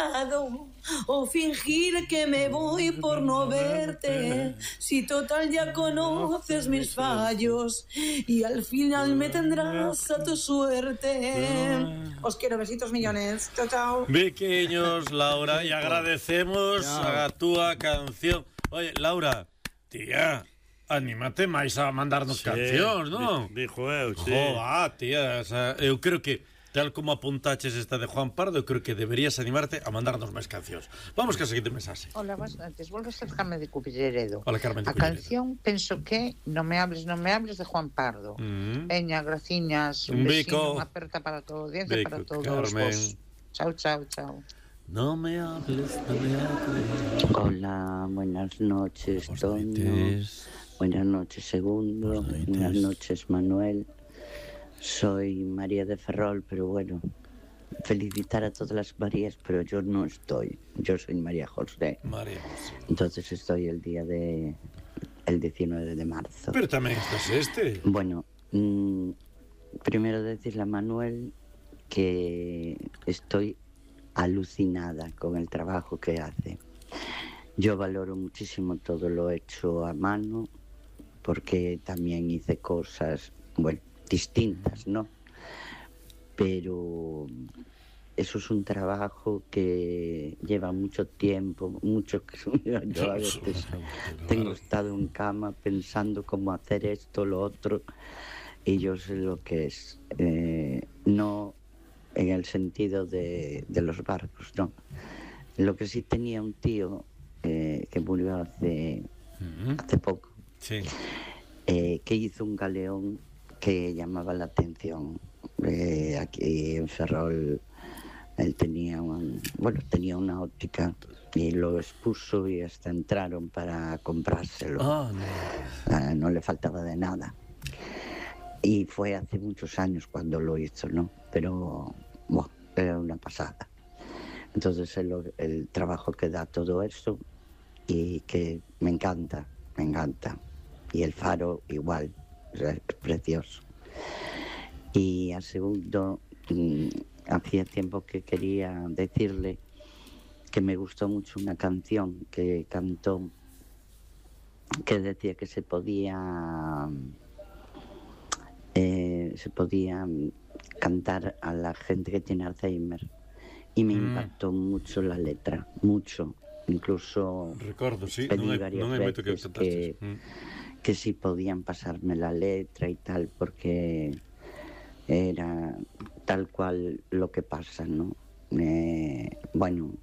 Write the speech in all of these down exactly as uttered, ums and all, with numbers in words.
lado o fingir que me voy por no verte. Si total ya conoces mis fallos y al final me tendrás a tu suerte. Os quiero, besitos millones. Chao, chao. Pequeños, Laura, y agradecemos a tu canción. Oye, Laura, tía, anímate máis a mandarnos sí, cancións, non? Dixo eu, sí. Joa, tía, o sea, eu creo que tal como apuntaches esta de Juan Pardo, eu creo que deberías animarte a mandarnos máis cancións. Vamos que a seguinte mensaxe. Hola, buenas noches. Volvo a ser Carmen de Cubilleredo. Hola, Carmen de A canción, penso que Non me hables, non me hables de Juan Pardo. Mm. Veña, graciñas, un, un besino, unha aperta para toda a audiencia, Bico, para todos Carmen. Vos. Chao, chao, chao. No me hables, no me hables. Hola, buenas noches, Toño. Buenas noches, Segundo. Buenas noches, Manuel. Soy María de Ferrol, pero bueno, felicitar a todas las Marías, pero yo no estoy. Yo soy María José. María José. Entonces estoy el día de... el diecinueve de marzo. Pero también estás este. Bueno, mmm, primero decirle a Manuel que estoy alucinada con el trabajo que hace. Yo valoro muchísimo todo lo hecho a mano, porque también hice cosas, bueno, distintas, ¿no? Pero eso es un trabajo que lleva mucho tiempo, mucho que yo a veces tengo estado en cama pensando cómo hacer esto, lo otro, y yo sé lo que es. Eh, no en el sentido de, de los barcos, no. Lo que sí tenía un tío eh, que murió hace, uh-huh. hace poco, sí. eh, que hizo un galeón que llamaba la atención. Eh, aquí en Ferrol él tenía un, bueno, tenía una óptica y lo expuso y hasta entraron para comprárselo. Oh, no. Ah, no le faltaba de nada. Y fue hace muchos años cuando lo hizo, ¿no? Pero, bueno, era una pasada. Entonces el, el trabajo que da todo eso y que me encanta, me encanta. Y el faro igual, o sea, es precioso. Y a Segundo, mmm, hacía tiempo que quería decirle que me gustó mucho una canción que cantó, que decía que se podía eh, se podía cantar a la gente que tiene Alzheimer, y me mm. impactó mucho la letra, mucho, incluso recuerdo, sí, pedí non hai, varias non hai moito que veces que, mm. que si podían pasarme la letra y tal, porque era tal cual lo que pasa, ¿no? Eh, bueno,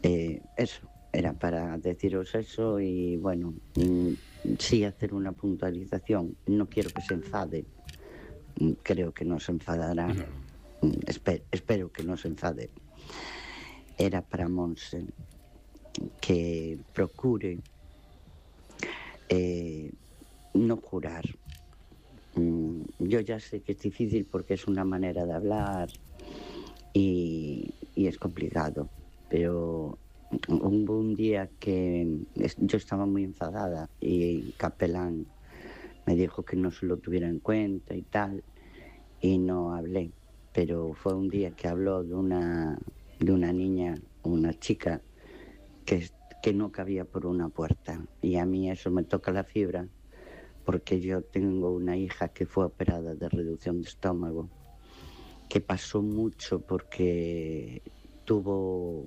eh, eso, era para deciros eso y bueno, mm, sí hacer una puntualización. No quiero que se enfade, creo que no se enfadará, no. Esper, espero que no se enfade. Era para Monse que procure eh, no jurar. Yo ya sé que es difícil porque es una manera de hablar y, y es complicado, pero hubo un día que yo estaba muy enfadada y Capelán me dijo que no se lo tuviera en cuenta y tal, y no hablé, pero fue un día que habló de una, de una niña, una chica que, que no cabía por una puerta, y a mí eso me toca la fibra, porque yo tengo una hija que fue operada de reducción de estómago, que pasó mucho porque tuvo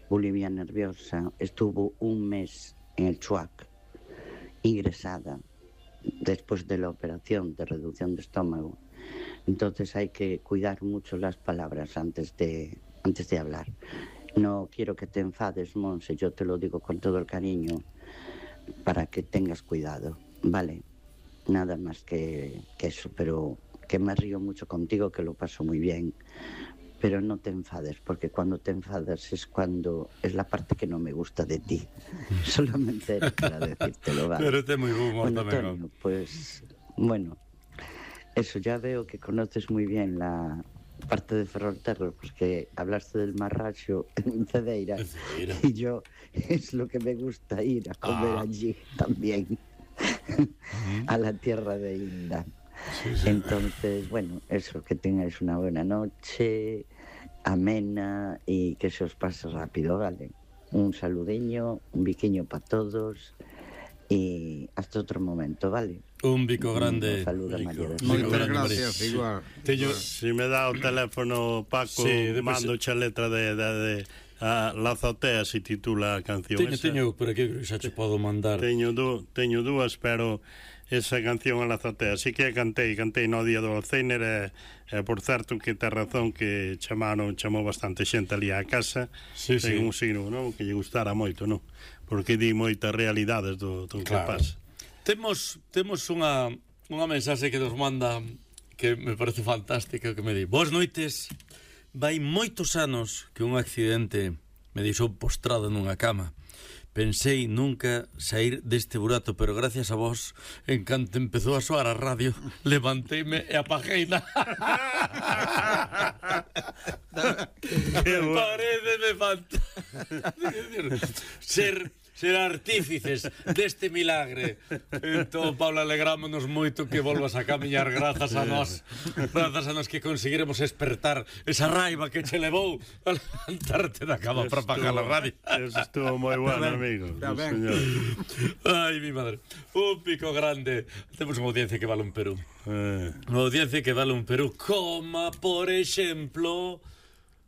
bulimia nerviosa, estuvo un mes en el Chuac, ingresada, después de la operación de reducción de estómago. Entonces hay que cuidar mucho las palabras antes de, antes de hablar. No quiero que te enfades, Monse, yo te lo digo con todo el cariño, para que tengas cuidado. Vale, nada más que, que eso, pero que me río mucho contigo, que lo paso muy bien, pero no te enfades, porque cuando te enfadas es cuando es la parte que no me gusta de ti. Solamente era para decírtelo, ¿vale? Pero este es muy humor bueno, también, Antonio, pues, bueno, eso, ya veo que conoces muy bien la parte de Ferrolterra, porque hablaste del Marracho en Cedeira, en Cedeira, y yo es lo que me gusta ir a comer ah. allí también. ¿Mm? A la tierra de Inda. Sí, sí. Entonces, bueno, eso, que tengáis una buena noche amena y que se os pase rápido, ¿vale? Un saludeño, un biquiño para todos y hasta otro momento, ¿vale? Un bico grande. Un saludo a María de Moitas gracias, igual. Teño... Si me dá o teléfono, Paco, Sí, mando xa letra de, de, de a La Azotea, se titula a canción Teño, esa. teño, por aquí xa te podo mandar. Teño, du, teño dúas, pero esa canción a La Azotea sí que cantei, cantei no día do Alzheimer e, e por certo que te razón que chamaron, chamou bastante xente ali á casa, Sí, sí. un signo, non? Que lle gustara moito, non? Porque di moitas realidades do, do que Claro. pasa. Temos temos unha unha mensaxe que nos manda que me parece fantástica, que me di: "Boas noites. Vai moitos anos que un accidente me deixou postrado nunha cama. Pensei nunca sair deste burato, pero gracias a vos, en canto empezou a soar a radio, levanteime e apagueina." Paréceme fantástico. Ser ser artífices deste milagre. Entón, Paula, alegrámonos moito que volvas a camiñar grazas a nós, grazas a nós que conseguiremos espertar esa raiva que che levou a levantarte da cama para apagar a radio. Eso estuvo moi bueno, amigo. Está ben. Señor. Ai, mi madre. Un pico grande. Temos unha audiencia que vale un Perú. Eh, Unha audiencia que vale un Perú, como por exemplo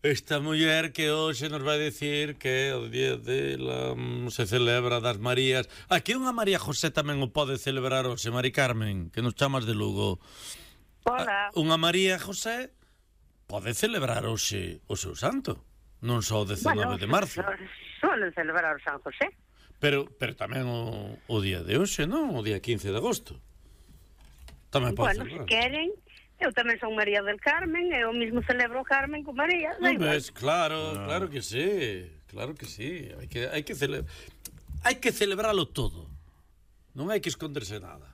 esta muller que hoxe nos vai dicir que o día de la, se celebra das Marías. Aquí unha María José tamén o pode celebrar hoxe, Mari Carmen, que nos chamas de Lugo. Hola. Unha María José pode celebrar hoxe o seu santo, non só o dezenove de marzo. Suelen celebrar o San José. Pero, pero tamén o, o día de hoxe, non? O día quince de agosto. Tamén pode Bueno, se celebrar. queren, eu tamén son María del Carmen, eu mismo celebro o Carmen con María. da Non igual. ves, claro, claro que sí, claro que sí. Hai que hai que cele... hai que celebralo todo. Non hai que esconderse nada.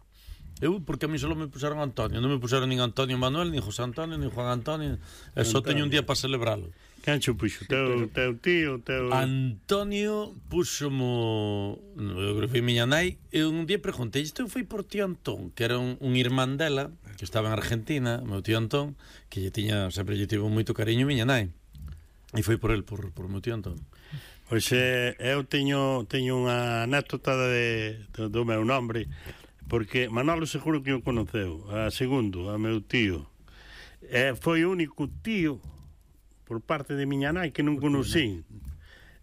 Eu, porque a mí solo me puseron Antonio, non me puseron nin Antonio Manuel, nin José Antonio, nin Juan Antonio, e só teño un día para celebralo. Quen cho puxo? Teu, teu tío, teu... Antonio puxomo, eu creo que foi miña nai, e un día preguntei, isto foi por tío Antón, que era un, un irmán dela, que estaba en Argentina, meu tío Antón, que lle tiña, sempre lle tivo moito cariño miña nai. E foi por el, por, por meu tío Antón. Pois eh, eu teño, teño unha anécdota de, do, do meu nombre, porque Manolo seguro que o conoceu, a segundo, a meu tío. Eh, foi o único tío por parte de miña nai que non conocín.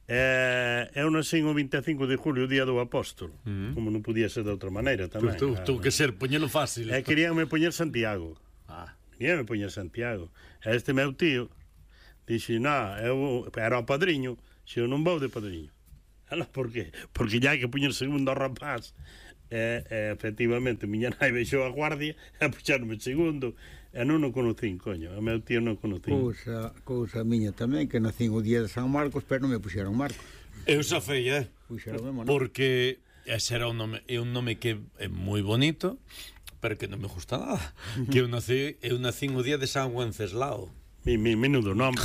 Eh, eu nascín o vinte e cinco de julio, o día do apóstolo, mm. como non podía ser de outra maneira tamén. Pues tú, tú que ser, poñelo fácil. E queríanme poñer Santiago. Ah. Queríanme poñer Santiago. E este meu tío dixe, non, eu era o padriño, se eu non vou de padriño. Ala, por qué? Porque ya hai que poñer segundo ao rapaz. E, e efectivamente, miña nai vexou a guardia e puxaronme segundo. E non o conocín, coño. A meu tío non o conocín. Cousa, cousa miña tamén, que nacín o día de San Marcos, pero non me puxeron Marcos. Eu xa fei, eh? Puxeron mesmo, non? Porque ese era un nome, é un nome que é moi bonito, pero que non me gusta nada. Que eu nací, eu nací o día de San Wenceslao. Mi, mi, menudo nombre.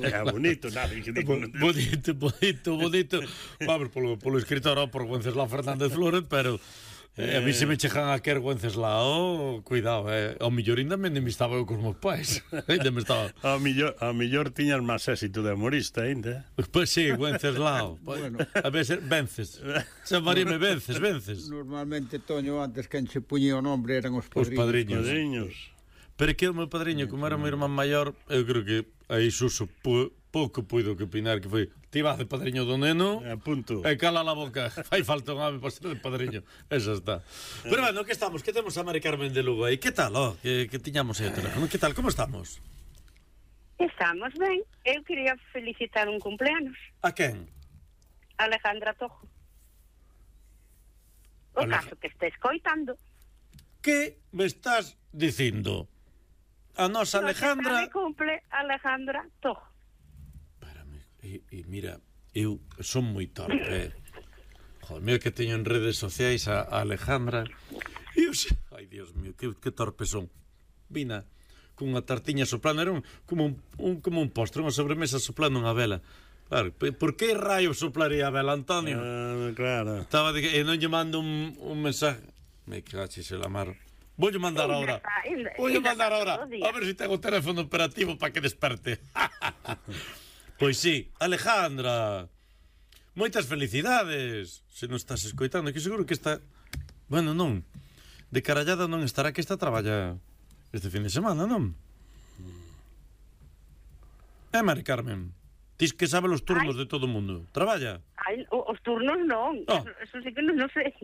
É bonito, nada. Que digo, Bonito, bonito, bonito. Vamos, polo, polo escritor, oh, por Wenceslao Fernández Flores, pero eh, a mí se me chejan a quer Wenceslao, cuidado, eh. Ao millor ainda me estaba eu cos meus pais. Ainda me estaba... A millor, a millor tiñas máis éxito de humorista, ainda. Pois sí, Wenceslao. Bueno. A veces, vences. Chamaríame vences, vences. Normalmente, Toño, antes quen se puñía o nombre eran os Os padriños. padriños. Padriños. Pero que o meu padriño, como era o meu irmán maior, eu creo que aí Suso pu, pouco puido que opinar, que foi ti vas de padriño do neno A punto. e cala la boca, fai falta un home para ser de padriño. Esa está. Pero bueno, que estamos? Que temos a Mari Carmen de Lugo aí? Que tal, oh? Que, que tiñamos aí o teléfono? Que tal? Como estamos? Estamos ben. Eu quería felicitar un cumpleanos. A quen? Alejandra Tojo. O Alej- caso que estés coitando. Que me estás dicindo? A nosa Alejandra... Hoxe cumple Alejandra Tojo. Espérame, e, e mira, eu son moi torpe. Joder, mira que teño en redes sociais a, a Alejandra. E eu sei, ai, Dios mío, que, que torpe son. Vina cunha tartiña soplando, era un, como, un, un, como un postre, unha sobremesa soplando unha vela. Claro, por que raio soplaría a vela, Antonio? Ah, claro. Estaba de que, e non lle mando un, un mensaje. Me caches el amar. Voulle mandar ahora. Voulle mandar ahora. A ver se ten o teléfono operativo para que desperte. Pois sí, Alejandra. Moitas felicidades. Se non estás escoitando, que seguro que está... Bueno, non. De carallada non estará, que está a traballa este fin de semana, non? É, Mari Carmen. Tis que sabe os turnos Ay. de todo o mundo. Traballa? Ai, os turnos non. Oh. Eso, eso sí que non, non sei.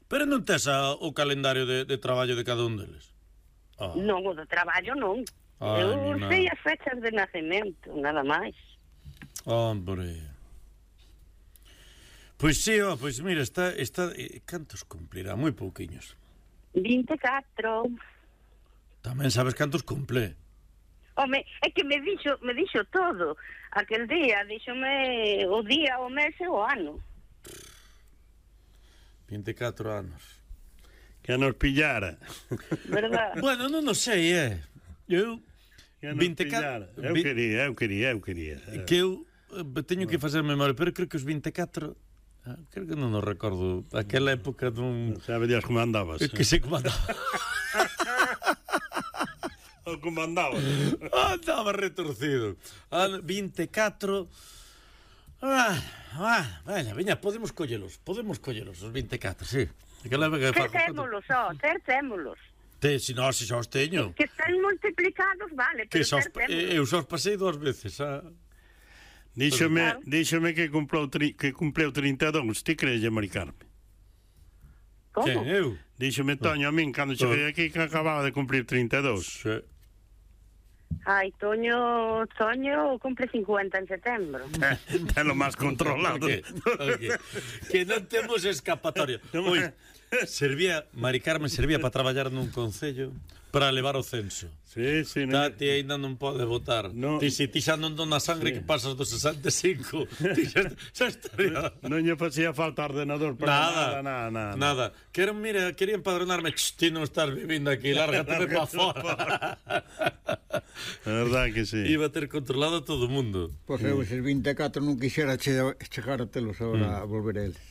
Pero non tes a, o calendario de, de traballo de cada un deles? Oh. Non, o do traballo non. Ay, eu sei as fechas de nacemento, nada máis. Hombre. Pois sí, oh, pois mira, está... está eh, cantos cumplirá? Moi pouquiños. vinte e catro. Tamén sabes cantos cumple? Home, é que me dixo, me dixo todo. Aquel día, díxome o día, o mes e o ano. vinte e catro anos. Que nos pillara. Verdad? Bueno, non o sei, eh. Eu... Que nos pillara. Eu quería, eu quería, eu quería. Que eu teño que facer memoria, pero creo que os vinte e catro... Creo que non nos recordo. Aquela época dun... Sabe Dios como andabas. Que se comandaba. O como andaba. Andaba retorcido. vinte e catro... Ah, ah, veña, veña, podemos collelos, podemos collelos, os vinte e catro, sí. Tercémolos, ó, tercémolos. Te, si non, se xa os teño. Que están multiplicados, vale, pero tercémolos. Eu xa os pasei dúas veces, ah. Díxome, claro. díxome que cumpleu, tri, que cumpleu trinta e dous, ti crees, Mari Carmen? Como? Que, eu? Díxome Toño a min, cando cheguei aquí, que acababa de cumplir trinta e dous. Sí. Ai, Toño, Toño cumple cincuenta en setembro. É lo máis controlado. Okay, okay. Que non temos escapatoria. Ui, servía, Mari Carmen servía para traballar nun concello para levar o censo. Sí, sí. Tati ainda non pode votar. No. Ti, si ti xa non dona sangre, sí. Que pasas dos sesenta e cinco. Ti xa, xa estaría... Non lle facía falta ordenador para nada. Nada, nada. Nada. nada. Quero, mira, quería empadronarme. Ch, ti non estás vivindo aquí, lárgate para fora. É verdade que sí. Iba a ter controlado a todo o mundo. Pois eu, eses vinte e catro non quixera chegar a telos agora mm. a volver a eles.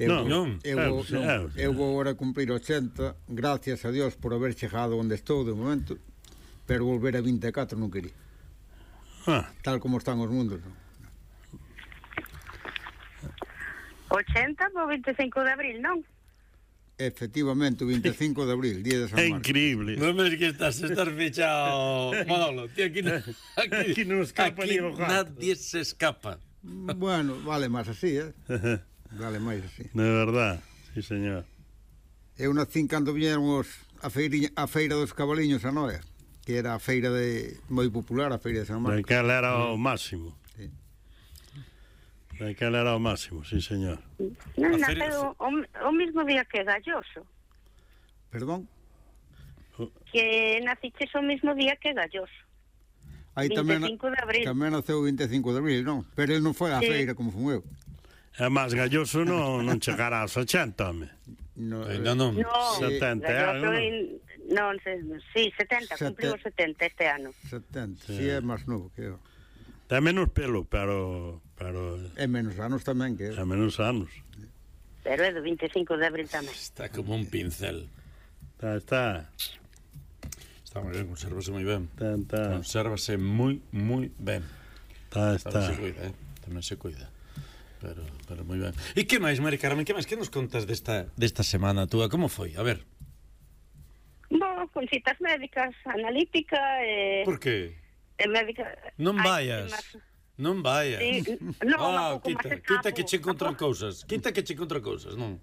Eu, non, non. Eu, eu, non. eu vou agora cumprir ochenta, gracias a Dios por haber chegado onde estou de momento, pero volver a vinte e catro non quería. Ah. Tal como están os mundos, non? ochenta por vinte e cinco de abril, non? Efectivamente, o vinte e cinco de abril, día de San Marcos. É increíble. Non ves que estás, estás fichado, Manolo. Ti aquí, aquí, aquí non escapa aquí ni o gato. Nadie se escapa. Bueno, vale máis así, eh? Vale máis así. De verdad, sí, señor. Eu nacín cando vieron os, a, feiriña, a feira dos cabaliños a Noia, que era a feira de moi popular, a feira de San Marcos. Daquela era o máximo. Sí. Daquela era o máximo, sí, señor. Non, naceu o, o mismo día que Galloso. Perdón? Que naciches o mismo día que Galloso. Aí vinte e cinco de abril. Tamén naceu o vinte e cinco de abril, non? Pero ele non foi á sí. feira como fun eu. É máis Galloso non, non chegará aos ochenta, home. No, ainda non. No, setenta anos. Non, sí, setenta, cumpliu setenta este ano. setenta, sí, sí é máis novo que eu. Ten menos pelo, pero... pero... É menos anos tamén que eu. É menos anos. Pero é do vinte e cinco de abril tamén. Está como un pincel. Está, está. Está moi ben, consérvase moi ben. Está, está. Consérvase moi, moi ben. Está, está. Tamén se cuida, eh? Tamén se cuida. Pero, pero moi ben. E que máis, Mari Carmen, que máis? Que nos contas desta, desta semana túa? Como foi? A ver. Bo, con citas médicas, analítica e... Por que? E médica... Non vayas. Ay, non vayas. Sí, no, ah, quita, quita que che encontran cousas. Quita que che encontran cousas, non?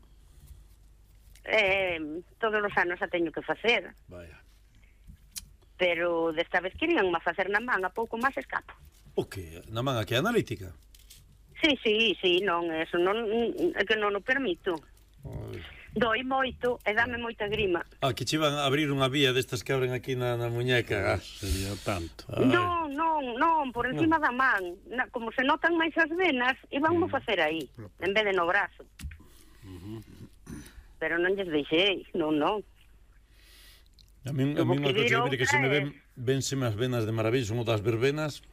Eh, todos os anos a teño que facer. Vaya. Pero desta vez querían má facer na man, a pouco máis escapo. O que? Na man aquí analítica? Sí, sí, sí, non, eso non, é que non o permito. Ai. Doi moito e dame moita grima. Ah, que che van a abrir unha vía destas que abren aquí na, na muñeca. Ah, sería tanto. Ai. Non, non, non, por encima no. da man. Na, como se notan máis as venas, iban mm. facer aí, en vez de no brazo. Uh-huh. Pero non lles deixei, non, non. A min, a min unha cosa que, que se me ven, vénseme as venas de maravilla, son o das verbenas.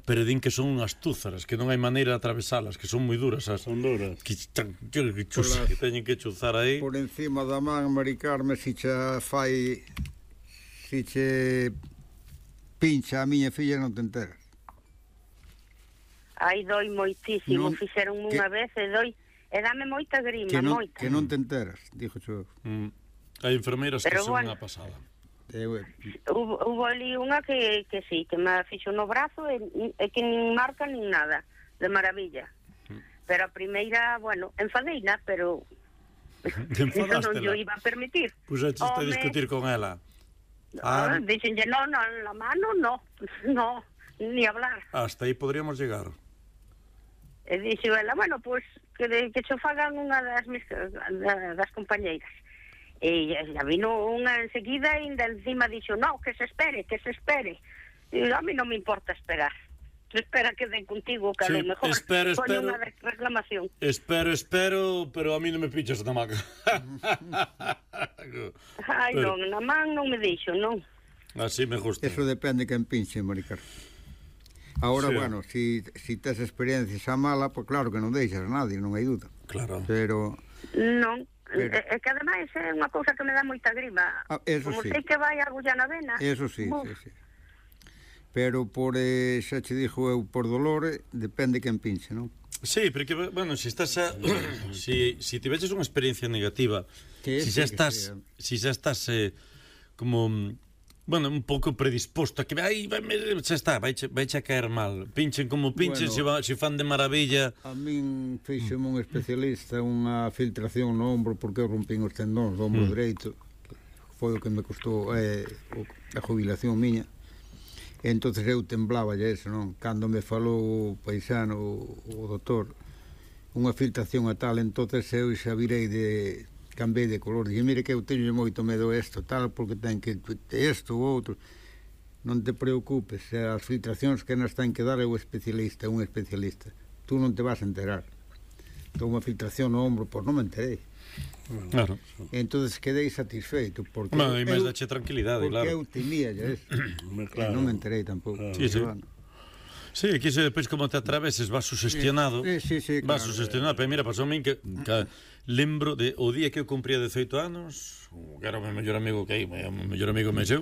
pero din que son unhas túzaras, que non hai maneira de atravesalas, que son moi duras. As, son duras. Que, que, que, chus, que teñen que chuzar aí. Por encima da man, Mari Carme, si che fai... Si che pincha a miña filla non te enteras. Ai, doi moitísimo, fixeron unha vez e doi... E dame moita grima, que non, moita. Que non te enteras, dixo xo. Mm. Hai enfermeiras Pero que son bueno, unha pasada. Eh, hubo, hubo ali unha que, que sí, que me fixo no brazo e, e que nin marca nin nada, de maravilla. Mm. Pero a primeira, bueno, enfadeina, pero... Eso non yo iba a permitir. Pois pues a discutir con ela. Ah, ah, dixenlle, no, no, la mano no, no, ni hablar. Hasta aí podríamos llegar. E dixo ela, bueno, pois pues, que, que xo fagan unha das mis, das compañeiras. E ya vino unha enseguida e ainda encima dixo, no, que se espere, que se espere. E a mí non me importa esperar. Tú espera que den contigo, que sí, a lo mejor espero, espero, unha reclamación. Espero, espero, pero a mí non me pichas na maca. Ai, pero... non, na man non me dixo, non. Así me gusta. Eso depende quen pinche, Maricar. Ahora, sí. Bueno, si, si tes experiencia xa mala, pues claro que non deixas a nadie, non hai duda. Claro. Pero... Non, pero... é que ademais é unha cousa que me dá moita grima. Ah, eso como sí. sei que vai a agullar na vena. Eso sí, Uf. sí, sí. Pero por, eh, xa che dixo eu, por dolor, depende quen pinche, non? Sí, porque, bueno, si estás a, si, si te veches unha experiencia negativa, que si xa estás, si xa estás eh, como, bueno, un pouco predisposto a que aí vai, xa está, vai vai a caer mal. Pinchen como pinchen, bueno, se si fan de maravilla. A min fixeme un especialista unha filtración no ombro porque eu rompín os tendóns do ombro mm. dereito. Foi o que me costou eh, a jubilación miña. E entonces eu temblaba eso, non? Cando me falou o paisano, o, o doutor, unha filtración a tal, entonces eu xa virei de... Cambei de color, dixen, mire que eu teño moito medo isto, tal, porque ten que isto ou outro. Non te preocupes, as filtracións que nas ten que dar é o especialista, un especialista. Tú non te vas a enterar. Tô unha filtración no ombro, pois non me enterei. Claro. Entonces quedei satisfeito porque bueno, e máis dache tranquilidade, porque claro. eu temía ya eso. Claro. Non me enterei tampouco. Claro. Sí, sí. Sí, aquí se depois como te atraveses vas sugestionado. Sí, sí, sí, vas claro. sugestionado, pero mira, pasou a min que, que lembro de o día que eu cumpría dezoito anos, que era o meu mellor amigo que aí, o meu mellor amigo me seu.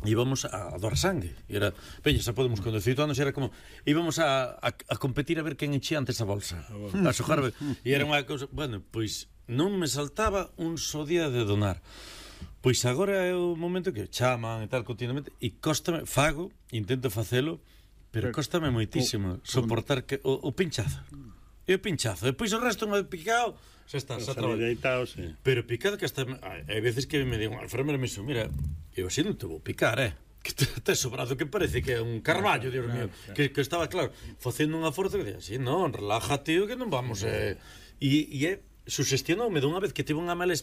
Íbamos a, a doar sangue. E era, peña, xa podemos con dezoito anos, era como íbamos a, a, a competir a ver quen enchía antes a bolsa. A sojar, e era unha cousa, bueno, pois non me saltaba un só día de donar. Pois agora é o momento que chaman e tal continuamente e cóstame, fago, intento facelo, pero cóstame moitísimo soportar que o, o pinchazo. E o pinchazo, depois o resto me picado, xa está, xa traballo. Sí. Pero picado que hasta hai veces que me digo, a enfermera me dixo, mira, eu así non te vou picar, eh. Que te, te sobrado que parece que é un carballo, Dios mío, que, que estaba claro, facendo unha forza que dixo, así, non, relájate, que non vamos, eh. E, e é sugestionoume dunha vez que tive unha mala